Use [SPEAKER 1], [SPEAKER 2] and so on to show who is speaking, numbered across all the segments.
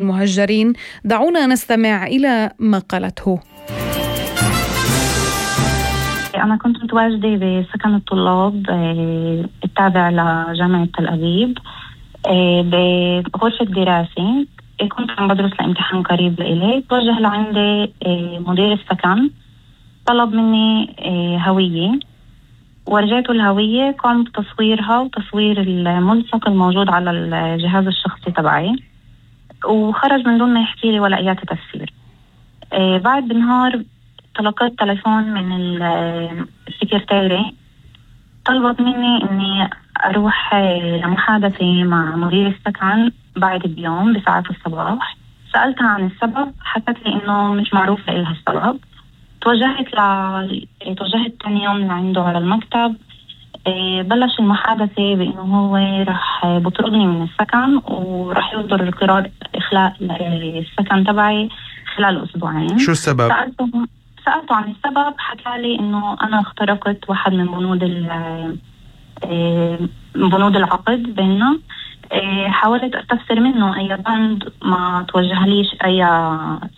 [SPEAKER 1] المهجرين. دعونا نستمع إلى ما قالته.
[SPEAKER 2] أنا كنت متواجدة بسكن الطلاب التابع لجامعة تل أبيب بغرفة دراسة. كنت عم بدرس لامتحان قريب لإلي. توجه لعندي مدير السكن، طلب مني هوية، ورجعته الهوية، قام بتصويرها وتصوير الملصق الموجود على الجهاز الشخصي تبعي، وخرج من دون ما يحكي لي ولا أي تفسير. بعد بنهار تلقيت تليفون من السكرتيرة، طلبت مني إني أروح لمحادثة مع مدير السكن بعد بيوم بساعات الصباح. سألتها عن السبب، حكت لي إنه مش معروف لها السبب. توجهت تاني يوم لعنده على المكتب. بلش المحادثة بإنه هو رح بطردني من السكن ورح يصدر قرار إخلاء السكن تبعي خلال أسبوعين.
[SPEAKER 3] شو السبب؟
[SPEAKER 2] سألته عن السبب، حكى لي إنه أنا اخترقت واحد من بنود العقد بيننا. حاولت أستفسر منه أي بند، ما توجهليش أي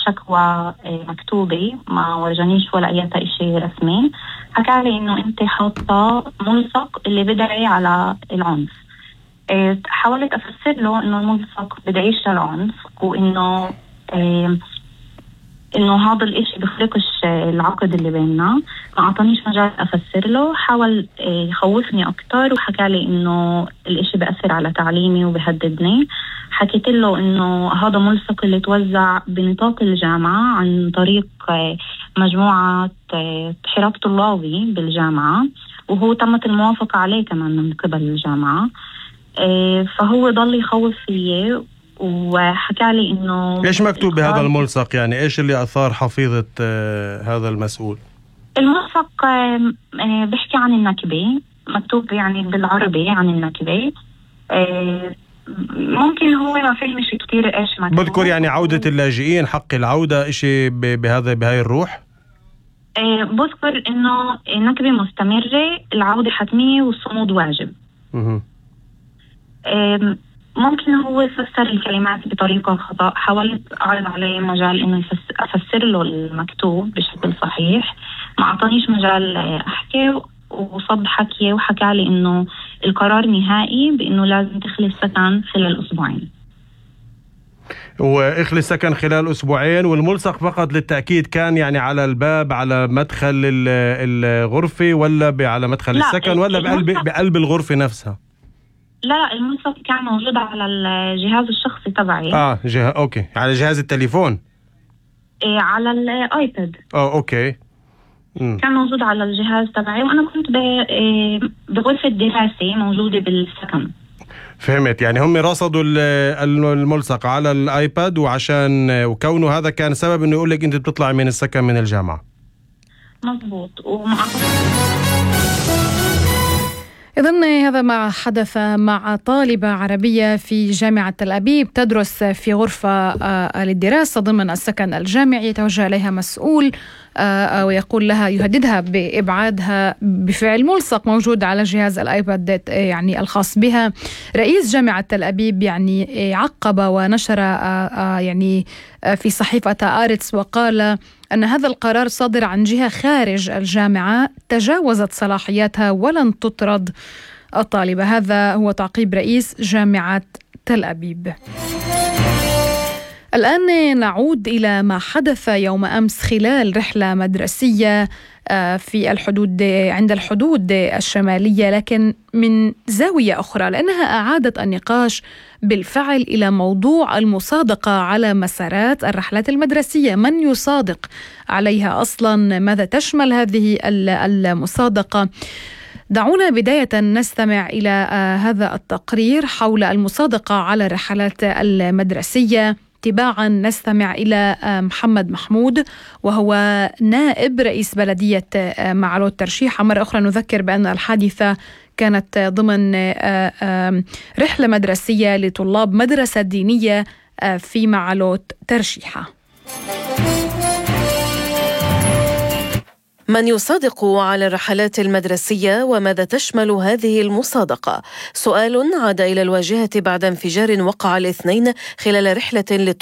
[SPEAKER 2] شكوى مكتوبة، ما ورجانيش ولا أي شيء رسمي. حكى لي إنه أنت حاطة ملصق اللي بدعي على العنف. حاولت أفسر له إنه الملصق بدعيش للعنف، وإنه إنه هذا الإشي بخلقش العقد اللي بيننا. ما أعطانيش مجال أفسر له، حاول يخوفني أكتر، وحكى لي إنه الإشي بأثر على تعليمي وبهددني. حكيت له إنه هذا ملصق اللي توزع بنطاق الجامعة عن طريق مجموعة حراك طلابي بالجامعة، وهو تمت الموافقة عليه كمان من قبل الجامعة. فهو ضل يخوف فيه، وحكى لي إنه
[SPEAKER 3] إيش مكتوب بهذا الملصق؟ يعني إيش اللي أثار حفيظة هذا المسؤول؟
[SPEAKER 2] الملصق بيحكي عن النكبة، مكتوب يعني بالعربي عن النكبة. ممكن هو ما فهمش كتير إيش مكتوب.
[SPEAKER 3] بذكر يعني عودة اللاجئين، حق العودة، إشي بهاي الروح.
[SPEAKER 2] بذكر إنه النكبة مستمرة، العودة حتمية والصمود واجب. ممكن هو يفسر الكلمات بطريقة خطأ. حاولت أعرض عليه مجال إنه أفسر له المكتوب بشكل صحيح، ما أعطانيش مجال أحكي، وصد حكي وحكى لي إنه القرار نهائي بإنه لازم تخلي السكن خلال أسبوعين.
[SPEAKER 3] وإخلي السكن خلال أسبوعين. والملصق فقط للتأكيد كان يعني على الباب، على مدخل الغرفة، ولا على مدخل السكن، ولا بقلب الغرفة نفسها؟
[SPEAKER 2] لا، الملصق كان موجود على الجهاز الشخصي تبعي.
[SPEAKER 3] أوكي، على جهاز التليفون.
[SPEAKER 2] على الآيباد.
[SPEAKER 3] أوكي.
[SPEAKER 2] كان موجود على الجهاز تبعي، وأنا كنت بغرفة دراسة موجودة بالسكن.
[SPEAKER 3] فهمت. يعني هم رصدوا الملصق على الآيباد، وكونه هذا كان سبب إنه يقول لك أنت بتطلع من السكن من الجامعة.
[SPEAKER 2] مظبوط.
[SPEAKER 1] إذن هذا ما حدث مع طالبة عربية في جامعة تل أبيب تدرس في غرفة للدراسة ضمن السكن الجامعي. يتوجه إليها مسؤول ويقول لها، يهددها بإبعادها بفعل ملصق موجود على جهاز الآيباد يعني الخاص بها. رئيس جامعة تل أبيب يعني عقب ونشر يعني في صحيفة آرتس، وقال أن هذا القرار صادر عن جهة خارج الجامعة تجاوزت صلاحياتها ولن تطرد الطالبة. هذا هو تعقيب رئيس جامعة تل أبيب. الآن نعود إلى ما حدث يوم أمس خلال رحلة مدرسية في الحدود، عند الحدود الشمالية، لكن من زاوية أخرى، لأنها أعادت النقاش بالفعل إلى موضوع المصادقة على مسارات الرحلات المدرسية. من يصادق عليها أصلا؟ ماذا تشمل هذه المصادقة؟ دعونا بداية نستمع إلى هذا التقرير حول المصادقة على الرحلات المدرسية. تباعا نستمع إلى محمد محمود، وهو نائب رئيس بلدية معلول ترشيحة. مرة أخرى نذكر بأن الحادثة كانت ضمن رحلة مدرسية لطلاب مدرسة دينية في معلول ترشيحة.
[SPEAKER 4] من يصادق على الرحلات المدرسية وماذا تشمل هذه المصادقة؟ سؤال عاد إلى الواجهة بعد انفجار وقع الاثنين خلال رحلة للطلاب